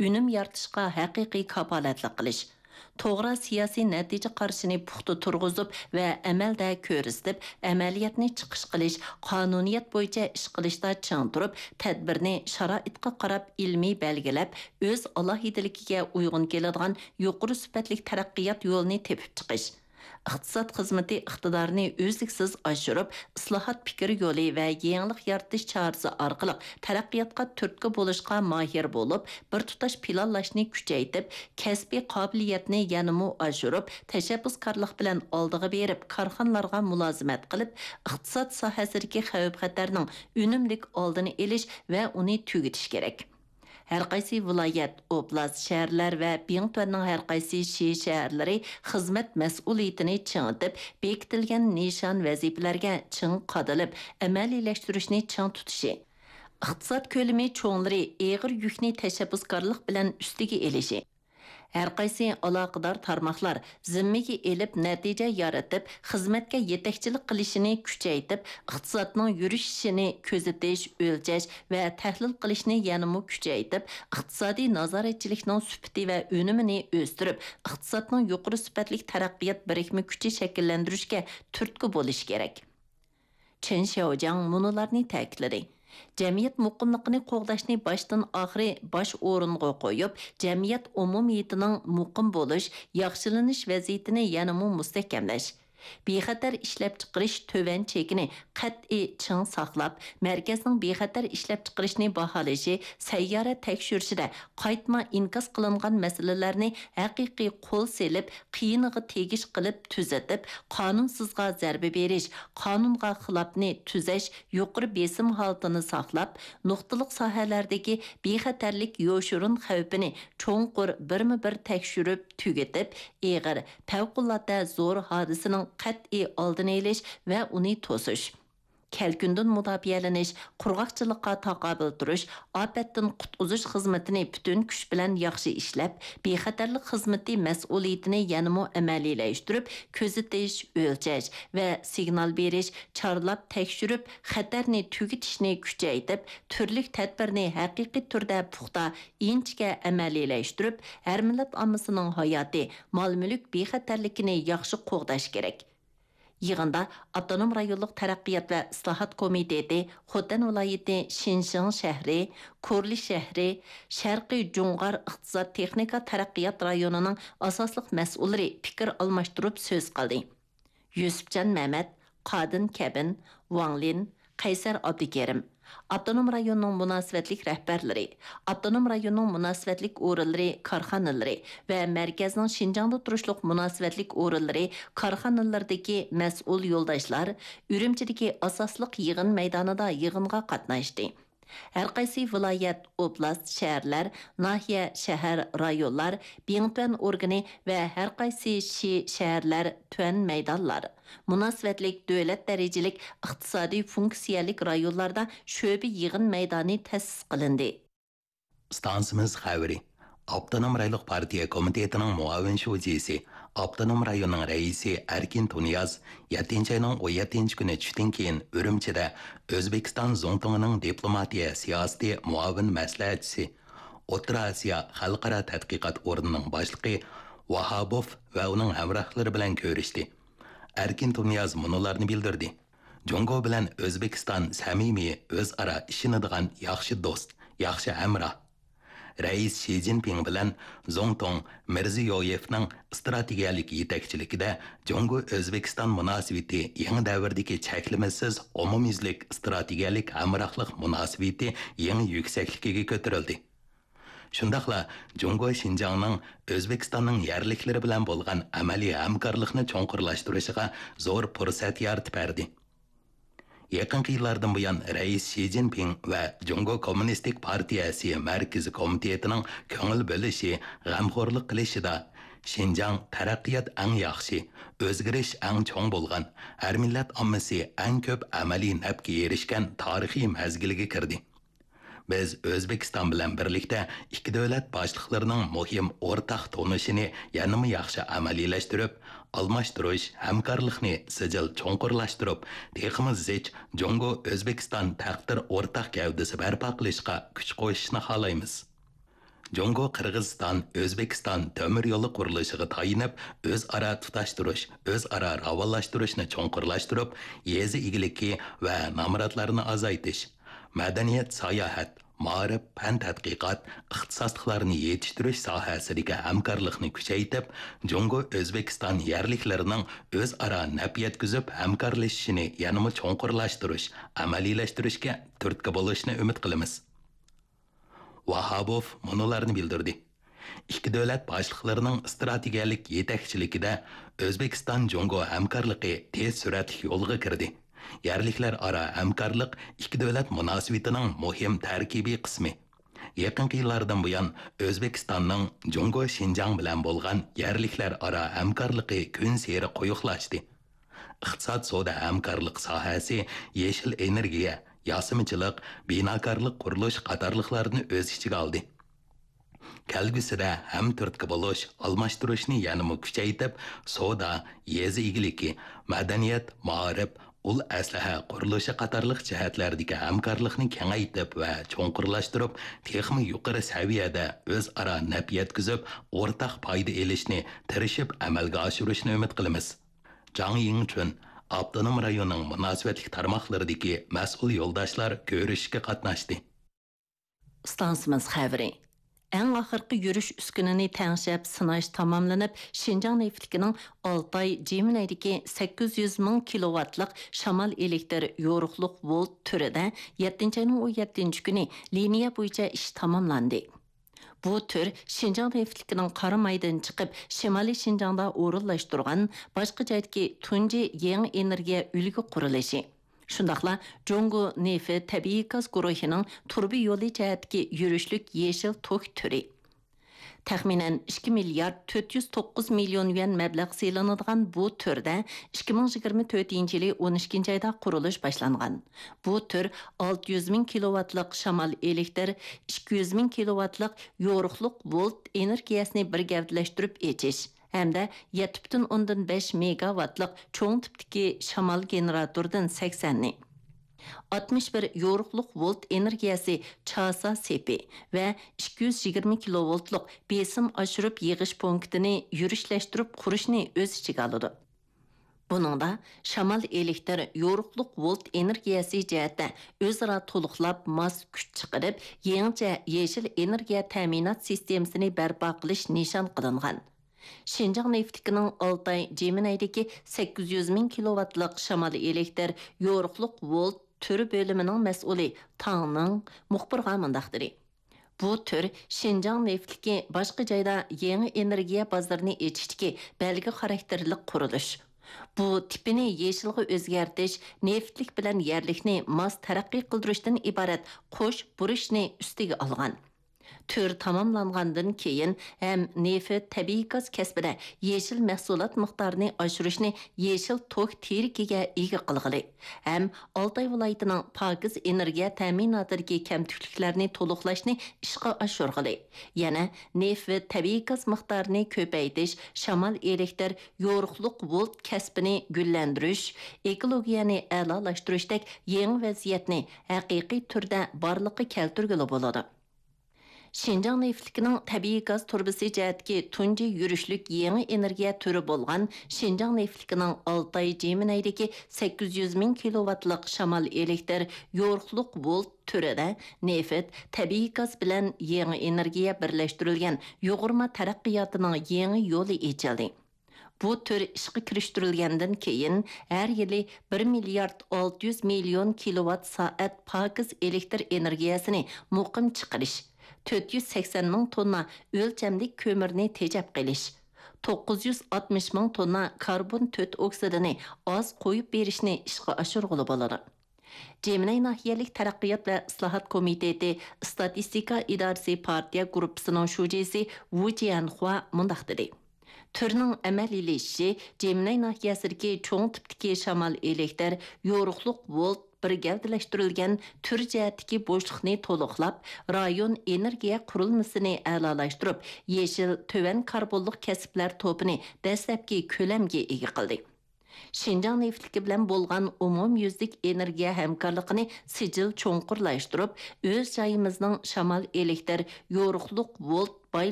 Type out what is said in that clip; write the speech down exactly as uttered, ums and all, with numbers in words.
ئۈنۈم يارىتىشقا ھەقىقىي كاپالەتلىك قىلىش، توغرا سىياسىي نەتىجە قارىشىنى پۇختا تۇرغۇزۇپ ۋە ئەمەلدە كۆرسىتىپ، ئەمەلىيەتنى چىقىش قىلىش، قانۇنىيەت بويىچە ئىش قىلىشتا چىڭ تۇرۇپ، تەدبىرنى شارائىتقا قاراپ ئىلمىي بەلگىلەپ، ئۆز ئالاھىدىلىكىگە ئۇيغۇن كېلىدىغان يۇقىرى سۈپەتلىك تەرەققىيات يولىنى تېپىپ چىقىش. ئىقتىساد خىزمىتى ئىقتىدارىنى ئۈزلۈكسىز ئاشۇرۇپ، ئىسلاھات پىكىر يولى ۋە يېڭىلىق يارىتىش چارىسى ئارقىلىق تەرەققىياتقا تۈرتكە بولۇشقا ماھىر بولۇپ، بىر تۇتاش پىلانلاشنى كۈچەيتىپ، كەسپىي قابىلىيەتنى يەنىمۇ ئاشۇرۇپ، تەشەببۇسكارلىق بىلەن ئالدىغا بېرىپ، كارخانىلارغا مۇلازىمەت قىلىپ، ئىقتىساد ساھەسىدىكى خەۋپ-خەتەرنىڭ ئۈنۈملۈك ئالدىنى ئېلىش ۋە ئۇنى تۈگىتىش كېرەك. ھەرقايسى ۋىلايەت، ئوبلاست، شەھەرلەر ۋە بىڭتۈەننىڭ ھەرقايسى شى شەھەرلىرى خىزمەت مەسئۇلىيىتىنى چىڭىتىپ، بېكىتىلگەن نىشان ۋەزىپىلەرگە چىڭ قادىلىپ، ئەمەلىيلەشتۈرۈشنى چىڭ تۇتۇشى، ئىقتىساد كۆلىمى چوڭلىرى ئېغىر يۈكنى تەشەببۇسكارلىق بىلەن ئۈستىگە ئېلىشى، ھەرقايسى ئالاقىدار تارماقلار زىممىگە ئېلىپ، نەتىجە يارىتىپ، خىزمەتكە يېتەكچىلىك قىلىشىنى كۈچەيتىپ، ئىقتىسادنىڭ يۈرۈشۈشىنى كۆزىتىش، ئۆلچەش ۋە تەھلىل قىلىشنى يەنىمۇ كۈچەيتىپ، ئىقتىسادىي نازارەتچىلىكنىڭ سۈپىتى ۋە ئۈنۈمىنى ئۆستۈرۈپ، ئىقتىسادنىڭ يۇقىرى سۈپەتلىك تەرەققىيات بىرىكمە كۈچى شەكىللەندۈرۈشكە تۈرتكە بولۇشى كېرەك. چېن شياۋجياڭ مۇنۇلارنى تەكىتلىدى: جەمئىيەت مۇقىملىقىنى قوغداشنى باشتىن ئاخىرى باش ئورۇنغا قويۇپ، جەمئىيەت ئومۇمىيىتىنىڭ مۇقىم بولۇش، ياخشىلىنىش ۋەزىيىتىنى يەنىمۇ مۇستەھكەملەش، بىخەتەر ئىشلەپچىقىرىش تۆۋەن چېكىنى قەتئىي چىڭ ساقلاپ، مەركەزنىڭ بىخەتەر ئىشلەپچىقىرىشنى باھالىشى، سەييارە تەكشۈرۈشىدە قايتما ئىنكاس قىلىنغان مەسىلىلەرنى ھەقىقىي قول سېلىپ، قىيىنىغا تېگىش قىلىپ تۈزىتىپ، قانۇنسىزغا زەربە بېرىش، قانۇنغا خىلاپنى تۈزەش، يۇقىرى بېسىم ھالىتىنى ساقلاپ، نۇقتىلىق ساھەلەردىكى بىخەتەرلىك يوشۇرۇن خەۋپىنى چوڭقۇر بىرمۇ بىر تەكشۈرۈپ تۈگىتىپ، ئېغىر، پەۋقۇلئاددە زور ھادىسىنىڭ قەتئىي ئالدىنى ئېلىش ۋە ئۇنى توسۇش. كەلكۈندىن مۇداپىئەلىنىش، قۇرغاقچىلىققا تاقابىل تۇرۇش، ئاپەتتىن قۇتقۇزۇش خىزمىتىنى پۈتۈن كۈچ بىلەن ياخشى ئىشلەپ، بىخەتەرلىك خىزمىتى مەسئۇلىيىتىنى يەنىمۇ ئەمەلىيلەشتۈرۈپ، كۆزىتىش، ئۆلچەش ۋە سىگنال بېرىش، چارلاپ تەكشۈرۈپ، خەتەرنى تۈگىتىشنى كۈچەيتىپ، تۈرلۈك تەدبىرنى ھەقىقىي تۈردە پۇختا، ئىنچىكە ئەمەلىيلەشتۈرۈپ، ھەر مىللەت ئاممىسىنىڭ ھاياتى، مال-مۈلۈك بىخەتەرلىكىنى ياخشى قوغداش كېرەك. يىغىندا ئاپتونوم رايونلۇق تەرەققىيات ۋە ئىسلاھات كومىتېتى، خوتەن ۋىلايىتى شىنشىڭ شەھىرى، كورلى شەھىرى، شەرقىي جۇڭغار ئىقتىساد تېخنىكا تەرەققىيات رايونىنىڭ ئاساسلىق مەسئۇللىرى پىكىر ئالماشتۇرۇپ سۆز قىلدى. يۈسۈپجان مەمەت، قادىن كەبىن، ۋاڭ لىن، قەيسەر ئابدۇكېرىم، ئاپتونوم رايوننىڭ مۇناسىۋەتلىك رەھبەرلىرى، ئاپتونوم رايوننىڭ مۇناسىۋەتلىك ئورۇنلىرى، كارخانىلىرى ۋە مەركەزنىڭ شىنجاڭدا تۇرۇشلۇق مۇناسىۋەتلىك ئورۇنلىرى، كارخانىلىرىدىكى مەسئۇل يولداشلار ئۈرۈمچىدىكى ئاساسلىق يىغىن مەيدانىدا يىغىنغا قاتناشتى. ھەرقايسى ۋىلايەت، ئوبلاست، شەھەرلەر، ناھىيە، شەھەر، رايونلار، بىڭتۈەن ئورگىنى ۋە ھەرقايسى شى، شەھەرلەر، تۈەن مەيدانلار، مۇناسىۋەتلىك دۆلەت دەرىجىلىك ئىقتىسادىي فۇنكسىيەلىك رايونلاردا شۆبە يىغىن مەيدانى تەسىس قىلىندى. ئىستانسىمىز خەۋىرى. ئاپتونوم رايونلۇق پارتىيە كومىتېتىنىڭ مۇئاۋىن شۇجىسى، ئاپتونوم رايوننىڭ رەئىسى ئەركىن تۇنىياز يەتتىنچى ئاينىڭ ئون يەتتىنچى كۈنى چۈشتىن كېيىن ئۈرۈمچىدە ئۆزبېكىستان زۇڭتۇڭىنىڭ دىپلوماتىيە سىياسىتى مۇئاۋىن مەسلىھەتچىسى، ئوتتۇرا ئاسىيا خەلقئارا تەتقىقات ئورنىنىڭ باشلىقى ۋاھابوف ۋە ئۇنىڭ ھەمراھلىرى بىلەن كۆرۈشتى. ئەركىن تۇنىياز مۇنۇلارنى بىلدۈردى: جۇڭگو بىلەن ئۆزبېكىستان سەمىمىي، ئۆزئارا ئىشىنىدىغان ياخشى دوست، ياخشى ھەمراھ. رەئىس شى جىنپىڭ بىلەن زۇڭتۇڭ مىرزىيويېۋنىڭ ئىستراتېگىيەلىك يېتەكچىلىكىدە جۇڭگو ئۆزبېكىستان مۇناسىۋىتى يېڭى دەۋردىكى چەكلىمىسىز ئومۇميۈزلۈك ئىستراتېگىيەلىك ھەمراھلىق مۇناسىۋىتى يېڭى يۈكسەكلىكىگە كۆتۈرۈلدى. شۇنداقلا جۇڭگو شىنجاڭنىڭ ئۆزبېكىستاننىڭ يەرلىكلىرى بىلەن بولغان ئەمەلىي ھەمكارلىقنى چوڭقۇرلاشتۇرۇشىغا زور پۇرسەت يارىتىپ بەردى. يېقىنقى يىللاردىن بۇيان، رەئىس شى جىنپىڭ ۋە جۇڭگو كوممۇنىستىك پارتىيەسى مەركىزىي كومىتېتىنىڭ كۆڭۈل بۆلۈشى، غەمخورلۇق قىلىشىدا شىنجاڭ تەرەققىيات ئەڭ ياخشى، ئۆزگىرىش ئەڭ چوڭ بولغان، ھەر مىللەت ئاممىسى ئەڭ كۆپ ئەمەلىي نەپكە ئېرىشكەن تارىخىي مەزگىلگە كىردى. بىز ئۆزبېكىستان بىلەن بىرلىكتە ئىككى دۆلەت باشلىقلىرىنىڭ مۇھىم ئورتاق تونۇشىنى يەنىمۇ ياخشى ئەمەلىيلەشتۈرۈپ، ئالماشتۇرۇش، ھەمكارلىقنى سىجىل چوڭقۇرلاشتۇرۇپ، تېخىمۇ زىچ جۇڭگو ئۆزبېكىستان تەقدىر ئورتاق گەۋدىسى بەرپا قىلىشقا كۈچ قوشۇشنى خالايمىز. جۇڭگو قىرغىزىستان ئۆزبېكىستان تۆمۈر يولى قۇرۇلۇشىغا تايىنىپ، ئۆزئارا تۇتاشتۇرۇش، ئۆزئارا راۋانلاشتۇرۇشنى چوڭقۇرلاشتۇرۇپ، يېزا ئىگىلىكى ۋە نامراتلارنى ئازايتىش، مەدەنىيەت، ساياھەت، مائارىپ، پەن تەتقىقات، ئىختىساسلىقلارنى يېتىشتۈرۈش ساھەسىدىكى ھەمكارلىقنى كۈچەيتىپ، جۇڭگو ئۆزبېكىستان يەرلىكلىرىنىڭ ئۆزئارا نەپ يەتكۈزۈپ ھەمكارلىشىشىنى يەنىمۇ چوڭقۇرلاشتۇرۇش، ئەمەلىيلەشتۈرۈشكە تۈرتكە بولۇشىنى ئۈمىد قىلىمىز. ۋاھابوف مۇنۇلارنى بىلدۈردى: ئىككى دۆلەت باشلىقلىرىنىڭ ئىستراتېگىيەلىك يېتەكچىلىكىدە ئۆزبېكىستان جۇڭگو ھەمكارلىقى تېز سۈرئەتلىك يولغا كىردى. يەرلىكلەر ئارا ھەمكارلىق ئىككى دۆلەت مۇناسىۋىتىنىڭ مۇھىم تەركىبىي قىسمى. يېقىنقى يىللاردىن بۇيان، ئۆزبېكىستاننىڭ جۇڭگو شىنجاڭ بىلەن بولغان يەرلىكلەر ئارا ھەمكارلىقى كۈنسېرى قويۇقلاشتى. ئىقتىساد، سودا ھەمكارلىق ساھەسى، يېشىل ئېنېرگىيە، ياسىمىچىلىق، بىناكارلىق، قۇرۇلۇش قاتارلىقلارنى ئۆز ئىچىگە ئالدى. كەلگۈسىدە ھەمتۈرتكە بولۇش، ئالماشتۇرۇشنى يەنىمۇ كۈچەيتىپ، سودا، يېزا ئىگىلىكى، مەدەنىيەت، مائارىپ، ئۇل ئەسلىھە قۇرۇلۇشى قاتارلىق جەھەتلەردىكى ھەمكارلىقنى كېڭەيتىپ ۋە چوڭقۇرلاشتۇرۇپ، تېخىمۇ يۇقىرى سەۋىيەدە ئۆزئارا نەپ يەتكۈزۈپ، ئورتاق پايدا ئېلىشنى تىرىشىپ ئەمەلگە ئاشۇرۇشنى ئۈمىد قىلىمىز. جاڭ يىڭچۈن، ئاپتونوم رايوننىڭ مۇناسىۋەتلىك تارماقلىرىدىكى مەسئۇل يولداشلار كۆرۈشۈشكە قاتناشتى. ئىستانسىمىز خەۋىرى. ئەڭ ئاخىرقى يۈرۈش ئۈسكۈنىنى تەڭشەپ سىناش تاماملىنىپ، شىنجاڭ نېفىتلىكىنىڭ ئالتاي جىمىنەيدىكى سەككىز يۈز مىڭ كىلوۋاتلىق شامال ئېلېكتىر يورۇقلۇق ۋولت تۈرىدە يەتتىنچى ئاينىڭ ئون يەتتىنچى كۈنى لىنىيە بويىچە ئىش تاماملاندى. بۇ تۈر شىنجاڭ نېفىتلىكىنىڭ قارامايدىن چىقىپ، شىمالىي شىنجاڭدا ئورۇنلاشتۇرغان باشقا جايدىكى تۇنجى يېڭى ئېنېرگىيە ئۈلگە قۇرۇلۇشى. شۇنداقلا جۇڭگو نېفىت تەبىئىي گاز گۇرۇھىنىڭ تۇرۇبا يولى جەھەتتىكى يۈرۈشلۈك يېشىل توك تۈرى. تەخمىنەن ئىككى مىليارد تۆت يۈز توققۇز مىليون يۈەن مەبلەغ سېلىنىدىغان بۇ تۈردە ئىككى مىڭ يىگىرمە تۆتىنچى يىلى ئون ئىككىنچى ئايدا قۇرۇلۇش باشلانغان. بۇ تۈر ئالتە يۈز مىڭ كىلوۋاتلىق شامال ئېلېكتىر، ئىككى يۈز مىڭ كىلوۋاتلىق يورۇقلۇق ۋولت ئېنېرگىيەسىنى بىر گەۋدىلەشتۈرۈپ ئېچىش ھەمدە يەتتە پۈتۈن ئوندىن بەش مېگاۋاتلىق چوڭ تىپتىكى شامال گېنېراتوردىن سەكسەننى، ئاتمىش بىر يورۇقلۇق ۋولت ئېنېرگىيەسى چاسا سېپى ۋە ئىككى يۈز يىگىرمە كىلوۋولتلۇق بېسىم ئاشۇرۇپ يىغىش پونكىتىنى يۈرۈشلەشتۈرۈپ قۇرۇشنى ئۆز ئىچىگە ئالىدۇ. بۇنىڭدا شامال ئېلېكتىر يورۇقلۇق ۋولت ئېنېرگىيەسى جەھەتتە ئۆزئارا تولۇقلاپ ماس كۈچ چىقىرىپ، يېڭىچە يېشىل ئېنېرگىيە تەمىنات سىستېمىسىنى بەرپا قىلىش نىشان قىلىنغان. شىنجاڭ نېفىتلىكىنىڭ ئالتاي جىمىنەيدىكى سەككىز يۈز مىڭ كىلوۋاتلىق شامال ئېلېكتىر يورۇقلۇق ۋولت تۈر بۆلۈمىنىڭ مەسئۇلى تاڭ نىڭ مۇخبىرغا مۇنداق دېدى: بۇ تۈر شىنجاڭ نېفىتلىكى باشقا جايدا يېڭى ئېنېرگىيە بازىرىنى ئېچىشتىكى بەلگە خاراكتېرلىك قۇرۇلۇش. بۇ تىپىنى يېشىلغا ئۆزگەرتىش، نېفىتلىك بىلەن يەرلىكنى ماس تەرەققىي قىلدۇرۇشتىن ئىبارەت قوش بۇرچنى ئۈستىگە ئالغان. تۈر تاماملانغاندىن كېيىن ھەم نېفىت، تەبىئىي گاز كەسپىدە يېشىل مەھسۇلات مىقدارىنى ئاشۇرۇشنى يېشىل توك تىرىكىگە ئىگە قىلغىلى، ھەم ئالتاي ۋىلايىتىنىڭ پاكىز ئېنېرگىيە تەمىناتىدىكى كەمتۈكلۈكلەرنى تولۇقلاشنى ئىشقا ئاشۇرغىلى، يەنە نېفىت، تەبىئىي گاز مىقدارىنى كۆپەيتىش، شامال ئېلېكتىر، يورۇقلۇق ۋولت كەسپىنى گۈللەندۈرۈش، ئېكولوگىيەنى ئەلالاشتۇرۇشتەك يېڭى ۋەزىيەتنى ھەقىقىي تۈردە بارلىققا كەلتۈرگىلى بولىدۇ. شىنجاڭ نېفىتلىكىنىڭ تەبىئىي گاز تۇرۇبىسى جەھەتتىكى تۇنجى يۈرۈشلۈك يېڭى ئېنېرگىيە تۈرى بولغان شىنجاڭ نېفىتلىكىنىڭ ئالتاي جىمىنەيدىكى سەككىز يۈز مىڭ كىلوۋاتلىق شامال ئېلېكتىر يورۇقلۇق ۋولت تۈرىدە نېفىت، تەبىئىي گاز بىلەن يېڭى ئېنېرگىيە بىرلەشتۈرۈلگەن يۇغۇرما تەرەققىياتىنىڭ يېڭى يولى ئېچىلدى. بۇ تۈر ئىشقا كىرىشتۈرۈلگەندىن كېيىن، ھەر يىلى بىر مىليارد ئالتە يۈز مىليون كىلوۋات سائەت پاكىز ئېلېكتىر ئېنېرگىيەسىنى مۇقىم چىقىرىش، تۆت يۈز سەكسەن مىڭ توننا ئۆلچەملىك كۆمۈرنى تېجەپ قېلىش، توققۇز يۈز ئاتمىش مىڭ توننا كاربون تۆت ئوكسىدىنى ئاز قويۇپ بېرىشنى ئىشقا ئاشۇرغىلى بولىدۇ. جىمىنەي ناھىيەلىك تەرەققىيات ۋە ئىسلاھات كومىتېتى ئىستاتىستىكا ئىدارىسى پارتىيە گۇرۇپپىسىنىڭ شۇجىسى ۋۇ جيەنخۇا مۇنداق دېدى: تۈرنىڭ ئەمەلىيلىشىشى جىمىنەي ناھىيەسىدىكى چوڭ تىپتىكى شامال ئېلېكتىر، يورۇقلۇق ۋولت بىر گەۋدىلەشتۈرۈلگەن تۈر جەھەتتىكى بوشلۇقنى تولۇقلاپ، رايون ئېنېرگىيە قۇرۇلمىسىنى ئەلالاشتۇرۇپ، يېشىل تۆۋەن كاربونلۇق كەسىپلەر توپىنى دەسلەپكى كۆلەمگە ئىگە قىلدى. شىنجاڭ نېفىتلىكى بىلەن بولغان ئومۇميۈزلۈك ئېنېرگىيە ھەمكارلىقىنى سىجىل چوڭقۇرلاشتۇرۇپ، ئۆز جايىمىزنىڭ شامال ئېلېكتىر، يورۇقلۇق ۋولت باي